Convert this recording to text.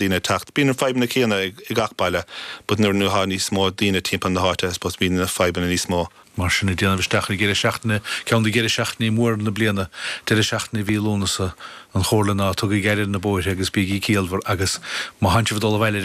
Daoine ag teacht. Bíonn na fadhbanna céanna i gach baile but nuair atá níos mó daoine timpeall na háite I suppose bíonn na fadhbanna níos mó. Mar sin, ag déanamh isteach ar dheireadh seachtaine, ceann de dheireadh seachtainí móra na bliana, deireadh seachtaine mhí Lúnasa, an chomhairle ná tugaigí aire ar na bóithre agus bígí ciallmhar agus má thánn sibh ag dul abhaile ar.